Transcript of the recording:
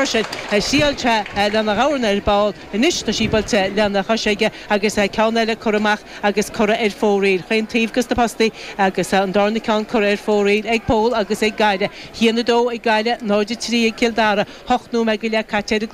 freisin. Thriail sé lena dhorn ar ball. Anois tá sí buailte lena chois aige agus ceann eile curtha amach agus curtha ar fóraoil chaon taobh dos na postaí agus an darna ceann curtha ar fóraoil ag Pól agus ag Gaillimh. 1, 2 ag Gaillimh, 0, 3 ag Cill Dara. 8 nóiméad go leith caite ar an.